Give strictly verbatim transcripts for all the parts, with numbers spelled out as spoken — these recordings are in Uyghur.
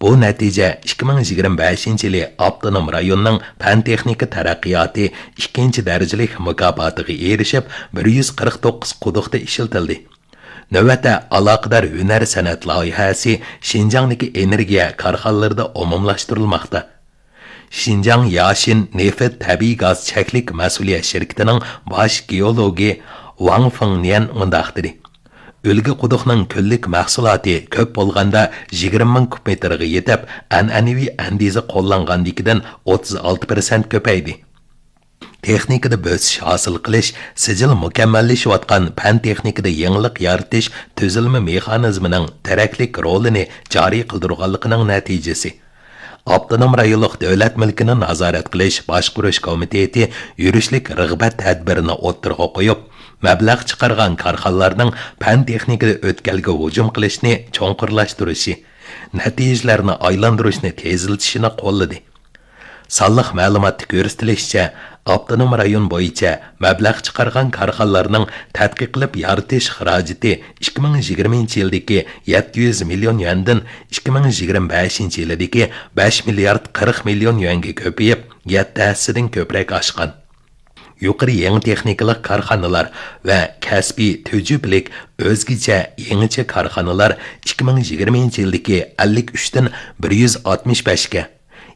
بۇ نەتىجە ئىككى مىڭ يىگىرمە بەشىنچى يىلى ئاپتونوم رايوننىڭ پەن-تېخنىكا تەرەققىياتى ئىككىنچى دەرىجىلىك مۇكاپاتىغا ئېرىشىپ، بىر يۈز قىرىق توققۇز قۇدۇقتا ئىشلىتىلدى. نۆۋەتتە ئالاقىدار ھۈنەر-سەنئەت لايىھەسى شىنجاڭدىكى ئېنېرگىيە كارخانىلىرىدا ئومۇملاشتۇرۇلماقتا. شىنجاڭ ياشىن نېفىت تەبىئىي گاز چەكلىك مەسئۇلىيەت شىركىتىنىڭ باش گېئولوگى ۋاڭ فېڭنيەن مۇنداق دېدى: ئۈلگە قۇدۇقنىڭ كۈنلۈك مەھسۇلاتى كۆپ بولغاندا يىگىرمە مىڭ كۇب مېتىرغا يېتىپ، ئەنئەنىۋى ئەندىزە قوللانغاندىكىدىن ئوتتۇز ئالتە پىرسەنت كۆپەيدى. تېخنىكىدا بۆسۈش ھاسىل قىلىش سىجىل مۇكەممەللىشىۋاتقان پەن-تېخنىكىدا يېڭىلىق يارىتىش تۈزۈلمە مېخانىزمىنىڭ تېرەكلىك رولىنى جارى قىلدۇرغانلىقىنىڭ نەتىجىسى. ئاپتونوم رايونلۇق دۆلەت مۈلكىنى نازارەت قىلىش باشقۇرۇش كومىتېتى يۈرۈشلۈك رىغبەت تەدبىرىنى ئوتتۇرىغا قويۇپ، مەبلەغ چىقارغان كارخانىلارنىڭ پەن-تېخنىكىدا ئۆتكەلگە ھۇجۇم قىلىشنى چوڭقۇرلاشتۇرۇشى، نەتىجىلەرنى ئايلاندۇرۇشنى تېزلىتىشىنى قوللىدى. سانلىق مەلۇماتتا كۆرسىتىلىشىچە، ئاپتونوم رايون بويىچە مەبلەغ چىقارغان كارخانىلارنىڭ تەتقىق قىلىپ يارىتىش خىراجىتى ئىككى مىڭ يىگىرمىنچى يىلدىكى يەتتە يۈز مىليون يۈەندىن ئىككى مىڭ يىگىرمە بەشىنچى يىلىدىكى بەش مىليارد قىرىق مىليون يۈەنگە كۆپىيىپ، يەتتە ھەسسىدىن كۆپرەك ئاشقان. يۇقىرى يېڭى تېخنىكىلىق كارخانىلار ۋە كەسپىي تۈجۈپىلىك ئۆزگىچە يېڭىچە كارخانىلار ئىككى مىڭ يىگىرمىنچى يىلدىكى ئەللىك ئۈچتىن بىر يۈز ئاتمىش بەشكە،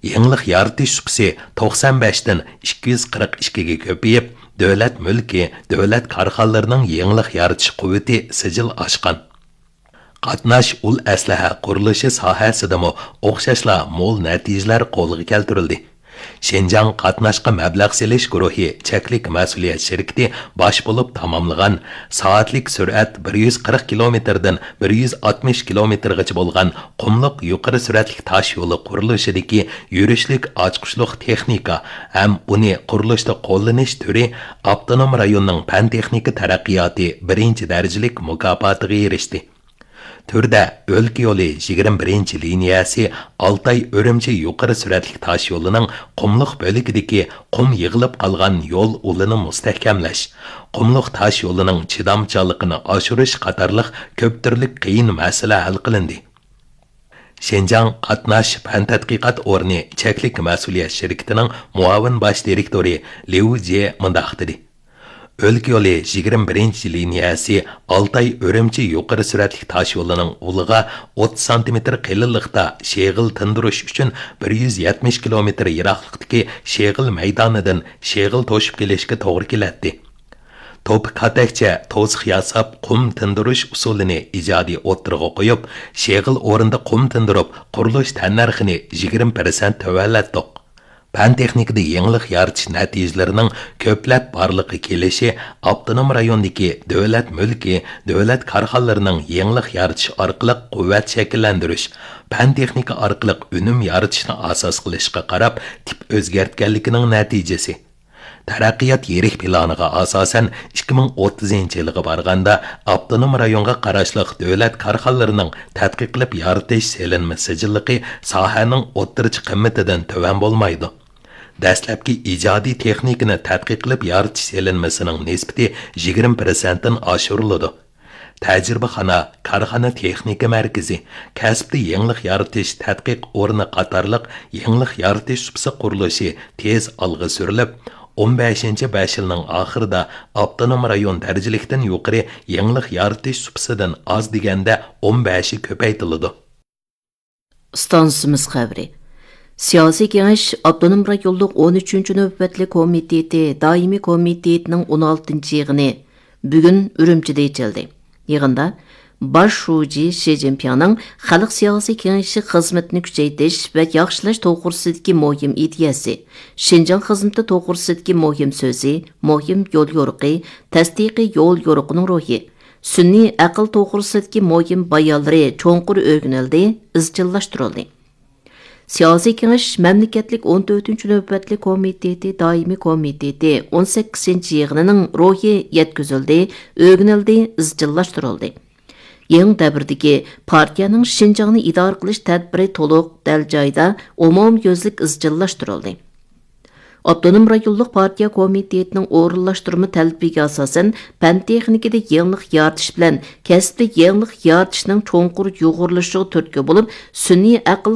يېڭىلىق يارىتىش سۇپىسى توقسان بەشتىن ئىككى يۈز قىرىق ئىككىگە كۆپىيىپ، دۆلەت مۈلكى، دۆلەت كارخانىلىرىنىڭ يېڭىلىق يارىتىش قۇۋۋىتى سىجىل ئاشقان. قاتناش ئۇل ئەسلىھە قۇرۇلۇشى ساھەسىدىمۇ ئوخشاشلا مول نەتىجىلەر قولغا كەلتۈرۈلدى. شىنجاڭ قاتناشقا مەبلەغ سېلىش گۇرۇھى چەكلىك مەسئۇلىيەت شىركىتى باش بولۇپ تاماملىغان، سائەتلىك سۈرئەت بىر يۈز قىرىق كىلومېتىردىن بىر يۈز ئاتمىش كىلومېتىرغىچە بولغان قۇملۇق يۇقىرى سۈرئەتلىك تاش يولى قۇرۇلۇشىدىكى يۈرۈشلۈك ئاچقۇچلۇق تېخنىكا ھەم ئۇنى قۇرۇلۇشتا قوللىنىش تۈرى ئاپتونوم رايوننىڭ پەن-تېخنىكا تەرەققىياتى بىرىنچى دەرىجىلىك مۇكاپاتىغا ئېرىشتى. تۈردە ئۆلكە يولى يىگىرمە بىرىنچى لىنىيەسى ئالتاي ئۈرۈمچى يۇقىرى سۈرئەتلىك تاش يولىنىڭ قۇملۇق بۆلىكىدىكى قۇم يىغىلىپ قالغان يول ئۇلىنى مۇستەھكەملەش، قۇملۇق تاش يولىنىڭ چىدامچانلىقىنى ئاشۇرۇش قاتارلىق كۆپ تۈرلۈك قىيىن مەسىلە ھەل قىلىندى. شىنجاڭ قاتناش پەن تەتقىقات ئورنى چەكلىك مەسئۇلىيەت شىركىتىنىڭ مۇئاۋىن باش دىرېكتورى ليۇ جې مۇنداق دېدى: ئۆلكە يولى يىگىرمە بىرىنچى لىنىيەسى ئالتاي ئۈرۈمچى يۇقىرى سۈرئەتلىك تاش يولىنىڭ ئۇلىغا ئوتتۇز سانتىمېتىر قېلىنلىقتا شېغىل تىندۇرۇش ئۈچۈن بىر يۈز يەتمىش كىلومېتىر يىراقلىقتىكى شېغىل مەيدانىدىن شېغىل توشۇپ كېلىشكە توغرا كېلەتتى. توپا كاتەكچە توسۇق ياساپ، قۇم تىندۇرۇش ئۇسۇلىنى ئىجادىي ئوتتۇرىغا قويۇپ، شېغىل ئورنىدا قۇم تىندۇرۇپ، قۇرۇلۇش تەننەرخىنى يىگىرمە پىرسەنت تۆۋەنلەتتۇق. پەن-تېخنىكىدا يېڭىلىق يارىتىش نەتىجىلىرىنىڭ كۆپلەپ بارلىققا كېلىشى ئاپتونوم رايوندىكى دۆلەت مۈلكى، دۆلەت كارخانىلىرىنىڭ يېڭىلىق يارىتىش ئارقىلىق قۇۋۋەت شەكىللەندۈرۈش، پەن-تېخنىكا ئارقىلىق ئۈنۈم يارىتىشنى ئاساس قىلىشقا قاراپ تىپ ئۆزگەرتكەنلىكىنىڭ نەتىجىسى. تەرەققىيات يىرىك پىلانىغا ئاساسەن، ئىككى مىڭ ئوتتۇزىنچى يىلغا بارغاندا، ئاپتونوم رايونغا قاراشلىق دۆلەت كارخانىلىرىنىڭ تەتقىق قىلىپ يارىتىش سېلىنما سىجىللىقى ساھەنىڭ ئوتتۇرىچە قىممىتىدىن تۆۋەن بولمايدۇ. دەسلەپكى ئىجادىي تېخنىكىنى تەتقىق قىلىپ يارىتىش سېلىنمىسىنىڭ نىسبىتى يىگىرمە پىرسەنتتىن ئاشۇرۇلىدۇ. تەجرىبىخانا، كارخانا تېخنىكا مەركىزى، كەسىپتە يېڭىلىق يارىتىش تەتقىق ئورنى قاتارلىق يېڭىلىق يارىتىش سۇپىسى قۇرۇلۇشى تېز ئالغا سۈرۈلۈپ، ئون بەشىنچى بەش يىلنىڭ ئاخىرىدا ئاپتونوم رايون دەرىجىلىكتىن يۇقىرى يېڭىلىق يارىتىش سۇپىسىدىن ئاز دېگەندە ئون بەشى كۆپەيتىلىدۇ. ئىستانسىمىز خەۋىرى. سىياسىي كېڭەش ئاپتونوم رايونلۇق ئون ئۈچىنچى نۆۋەتلىك كومىتېتى دائىمىي كومىتېتىنىڭ ئون ئالتىنچى يىغىنى بۈگۈن ئۈرۈمچىدە ئېچىلدى. يىغىندا باش شۇجى شى جىنپىڭنىڭ خەلق سىياسىي كېڭىشى خىزمىتىنى كۈچەيتىش ۋە ياخشىلاش توغرىسىدىكى مۇھىم ئىدىيەسى، شىنجاڭ خىزمىتى توغرىسىدىكى مۇھىم سۆزى، مۇھىم يوليورۇقى، تەستىقىي يوليورۇقىنىڭ روھى، سۈنئىي ئەقىل توغرىسىدىكى مۇھىم بايانلىرى چوڭقۇر ئۆگىنىلدى، ئىزچىللاشتۇرۇلدى. سىياسىي كېڭەش مەملىكەتلىك ئون تۆتىنچى نۆۋەتلىك كومىتېتى دائىمىي كومىتېتى ئون سەككىزىنچى يىغىنىنىڭ روھى يەتكۈزۈلدى، ئۆگىنىلدى، ئىزچىللاشتۇرۇلدى. يېڭى دەۋردىكى پارتىيەنىڭ شىنجاڭنى ئىدارە قىلىش تەدبىرى تولۇق، دەل جايىدا، ئومۇميۈزلۈك ئىزچىللاشتۇرۇلدى. ئاپتونوم رايونلۇق پارتىيە كومىتېتىنىڭ ئورۇنلاشتۇرما تەلىپىگە ئاساسەن، پەن تېخنىكىدا يېڭىلىق يارىتىش بىلەن كەسىپتە يېڭىلىق يارىتىشنىڭ چوڭقۇر يۇغۇرۇلۇشىغا تۈرتكە بولۇپ، سۈنئىي ئەقىل